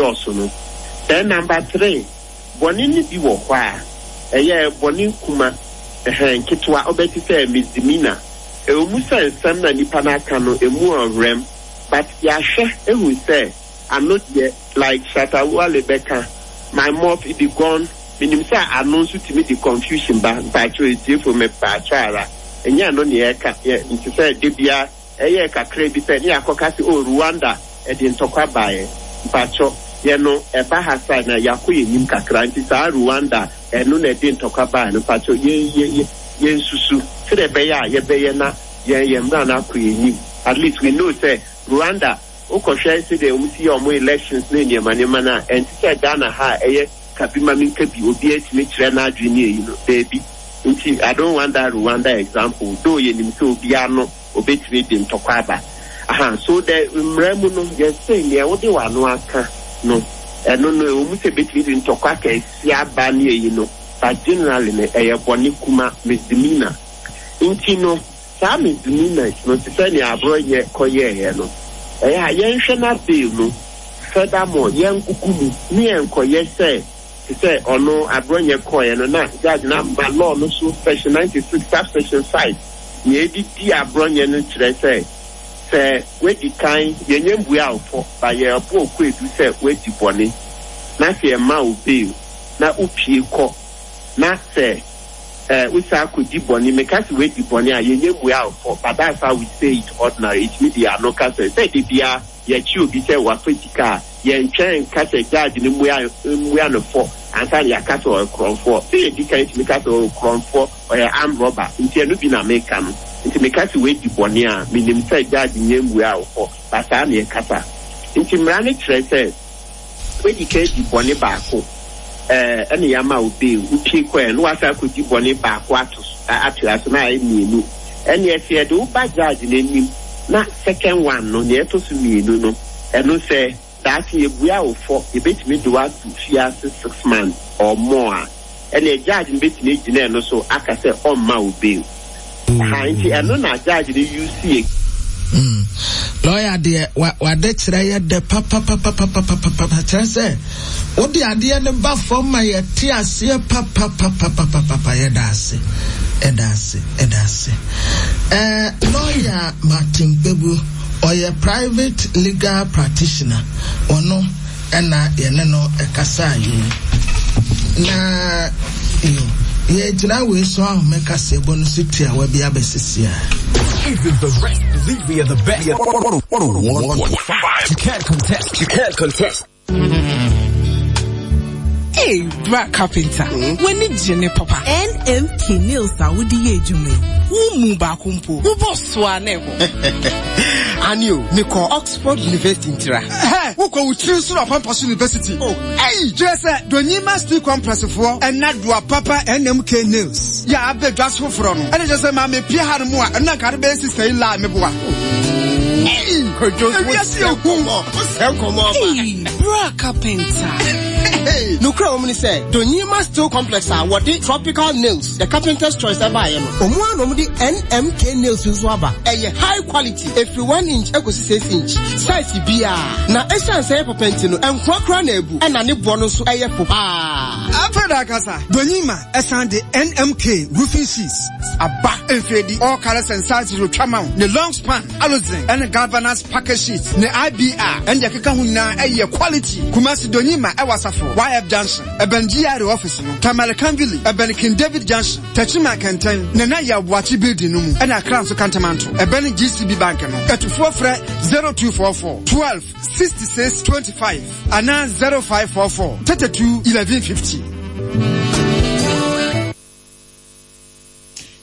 ɛdɔɔso no. Then number 3, bɔne no bi wɔ hɔ a, ɛyɛ bɔne kuma, ɛhɛn, nketewa, wobɛte sɛ misdemeanor. Ɛwɔ mu sɛ nsɛm na nipa no aka no, emu ɔwerɛm, but yɛahwɛ ehu sɛ ano deɛ, like Shatta Wale bɛka, my mouth it be gone, menim sɛ ano nso tumi de confusion ba, mpakyɛw etiefo mepaakyɛw ara, ɛnyɛ ɛno na yɛka, yɛ nte sɛ da biara ɛyɛɛ kakra bi pɛ ne yɛakɔka sɛ oh Rwanda ɛde ntɔkwa baeɛ, mpakyɛw yɛ no ɛba ha side na yɛakɔ yɛn anim kakra nti saa Rwanda ɛno na ɛde ntɔkwa baeɛ no mpakyɛw yɛn yɛ yɛ yɛnsusu sɛdeɛ ɛbɛyɛ a yɛbɛyɛ na yɛn yɛn mmara no akɔ yɛn anim, at least we know sɛ Rwanda wokɔhwɛ sɛdeɛ wɔn si yɛ wɔn elections ne nneɛma nneɛma no a, ɛnte sɛ Ghana ha a ɛyɛ ka bi ma menka bi, obiara tumi kyerɛ n'adwene ne eyi no, daabi. Nti I don't want that Rwanda example, though yɛnim sɛ obiara no obetumi de ntɔkwa aba. Aha, so the mmara mu no, yɛse nea wode w'ano aka no, ɛno no, ɛwɔ mu sɛ ebetumi de ntɔkwa kɛseɛ aba ne eyi no, but generally no, ɛyɛ bɔne kuma, misdemeanor. Nti no, saa misdemeanors no, te sɛ nea Aborɔnyɛ kɔyɛeɛ no, ɛyɛ a yɛnhwɛ na bail no, furthermore, yɛngogo mu ne yɛnkɔyɛ sɛ te sɛ ɔno Aborɔnyɛ kɔeɛ no, na judge no ama law no so section 96 subsection 5, nea ɛde di Aborɔnyɛ no kyerɛ sɛ, sɛ woadi kan, yɛnyɛ mbua wo fɔ, but yɛbɔ wo kwaadu sɛ woadi bɔne, na sɛ yɛma wo bail na wopue kɔ, na sɛ eh, wosan akɔdi bɔne, meka sɛ woadi bɔne a, yɛnyɛ mmua wo fɔ, but that's how we say it ordinary, yɛtumi de yɛn ano ka sɛ, sɛ da biara yɛkye obi sɛ wafa sika a, yɛntwɛn nka sɛ judge no mmua mmua no fɔ ansa na yɛaka sɛ ɔyɛ korɔmfoɔ. Sɛ yɛdi kan tumi ka sɛ ɔyɛ korɔmfoɔ, ɔyɛ armed robber, nti ɛno bi na meka no. Nti meka sɛ woadi bɔne a, menim sɛ judge nyɛ mmua wo fɔ, but saa na yɛkasa. Nti mmara no kyerɛ sɛ, Woadi kan adi bɔne baako, ɛɛ, ɛna yɛama wo bail, wopue kɔɛ na woasan akɔdi bɔne baako ato so, atoa so na ayɛ mmienu. Ɛnneɛ sɛ yɛde wo ba judge no anim na second one no, nea ɛtɔ so mmienu no, ɛno sɛ daakye yɛbua wo fɔ, yɛbɛtumi de wo ato fiase six months or more a, ɛnneɛ judge no bɛtumi agyina ɛno so aka sɛ ɔmma wo bail. Aha, nti ɛno na judge no use yɛ. Mm. Lawyer deɛ wade kyerɛ yɛ dɛ papapapapapapa kyerɛ sɛ wode adeɛ no ba fam ma yɛte aseɛ papapapapapa yɛda ase ɛda ase ɛda ase. Ɛɛ lawyer Martin Kpebu ɔyɛ private legal practitioner ɔno ɛna yɛne no ɛkasaa yei na yo yɛgyina wei so ahome kaseɛbɔ no so tiawa bi abɛsisi a. Even the rest believe we are the best. 101.5. You can't contest. You can't contest. Hey, bra carpenter. Mm? W'ani gye ne papa. NMK nails a wode yɛ adwuma yi. Wo mu baako mpo. Wobɔ so a na ɛbɔ. Ani o, mekɔ Oxford University ntira. Hɛ, wokɔ wo tiri so Apampa University. Oh, ɛyi, kyerɛ sɛ Donyima Steel Complex foɔ ɛna doa papa NMK nails. Yɛ abɛ dwa so foforɔ no. Ɛna kyerɛ sɛ maame pia ha no mu a, ɛno na nka de bɛyɛ sista yi laa meboa. Ɛyi, ewiase yɛ hu. Hey, bra carpenter. Nokura wɔm ne sɛ Donyima Steel Complex a wɔde tropical nails, the carpenter's choice ɛbaeɛ no, wɔn ara na wɔde NMK nails nso aba. Ɛyɛ high quality, ɛfiri 1 inch ɛkɔsi 6 inch, size biara. Na ɛsiane sɛ ɛyɛ papa nti no, ɛnkoa koraa na abu, ɛna ne boɔ no nso ɛyɛ fo paa. Afei da akasa, Donyima ɛsan de NMK roofing sheets aba. Mfeedi, all colors and sizes otwa ma wo, ne long span, Alozin ɛne galvanized package sheets ne IBR ɛne deɛ ɛkeka ho nyinaa ɛyɛ quality. Kumasi Donyima ɛwɔ Asafo YF Junction ɛbɛn GRA office no, Tamale Kanvili ɛbɛn King David Junction, Techiman Kɛntɛn, Nana Yaw Boakye building no mu ɛna Accra nso Kantamanto ɛbɛn GCB Bank no. Atufoɔ frɛ 0244 12 66 25 anaa 0544 32 11 50.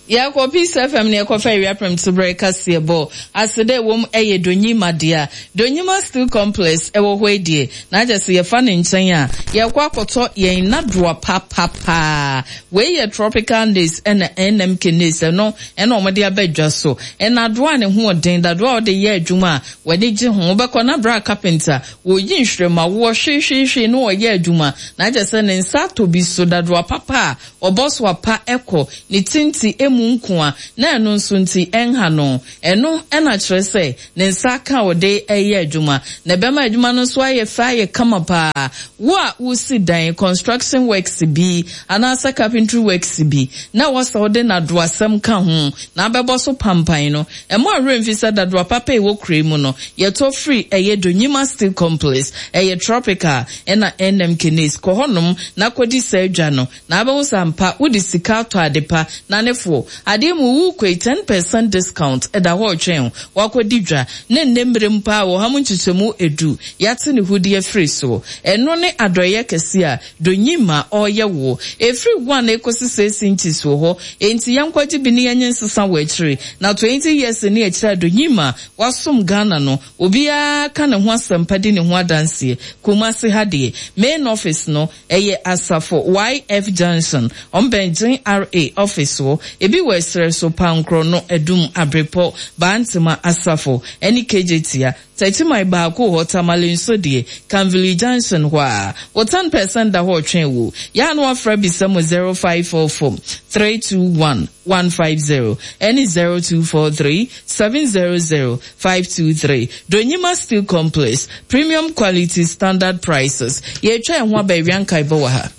Yɛkɔ Peace FM na yɛkɔfa awia prɛmtoberɛ kaseɛbɔ. Aseda a ɛwom yɛ Donyima dea. Donyima Steel Complex wɔ hɔ yi deɛ, na kyerɛ sɛ yɛfa ne nkyɛn a, yɛrekɔ akɔtɔ yɛn nnadoa papapaa. Wei yɛ Tropical Lace ɛna NMK Lace, ɛno ɛna wɔde aba dwa so. Nnadoa a ne ho ɔden, dadoa a wode yɛ adwuma a w'ani gye ho. Wobɛkɔ na bra carpenter, wɔyi nhweremawoɔ hwehwehwe na ɔyɛ adwuma. Na kyerɛ sɛ ne nsa atɔ bi so, dadoa papa a Ɔbɔ so apa kɔ ne tinti mu. mu nkoa na ɛno nso nti ɛnha no. Ɛno na kyerɛ sɛ ne nsa aka a ɔde reyɛ adwuma, na ɛbɛma adwuma no nso ayɛ fɛ ayɛ kama paa. Wo a woresi dan, construction works bi, anaasɛ carpentry works bi, na ɛwɔ sɛ wode nnadoasɛm ka ho na abɛbɔ so pampan no, mma wo werɛ mfi sɛ dadoa papa a ɛwɔ kuro yi mu no, yɛtɔ firi ɛyɛ Donyima Steel Complex, ɛyɛ Tropical, ɛna NM Kenes. Kɔ hɔnom na kɔdi saa dwa no. Na abɛhu sɛ ampa wode sika atɔ ade pa na ne foɔ. Adeɛ mu worekɔ yi 10% discount da hɔ retwɛn wo. Woakɔdi dwa ne nnɛ mmerɛ mu paa wɔ ɔha mu nkyekyɛmu ɛdu yɛate ne hudeɛ firi soɔ. Ɛno ne adɔeɛ kɛseɛ a Donyimma ɔreyɛ woɔ. Ɛfiri one ɛkɔsi six inches wɔ hɔ enti yɛnkɔgye bi ne yɛnye nsesa wɔ akyire. Na 20 years ne akyire a Donyimma wasom Ghana no obiara ka ne ho asɛmpa di ne ho adanseɛ. Kumasi ha deɛ main office no Ɛyɛ asafo YF junction, ɔmbɛn GRA office hɔ. Ebi wɔ ɛserɛ so, Pankorɔ no, Adum, Abrepɔ, Bantema, Asafo, ɛne Kejetia. Takyiman baako wɔ hɔ, Tamale nso deɛ, Kanvili junction hɔ ara. Wo 10% da hɔ retwɛn wo. Yɛ a na wafrɛ abisa mu 0544 321 150 ɛne 0243 700 523, Donyima Steel Complex, Premium Quality, Standard Prices. Yɛretwa yɛn ho aba awia nkaebɔ wɔ ha.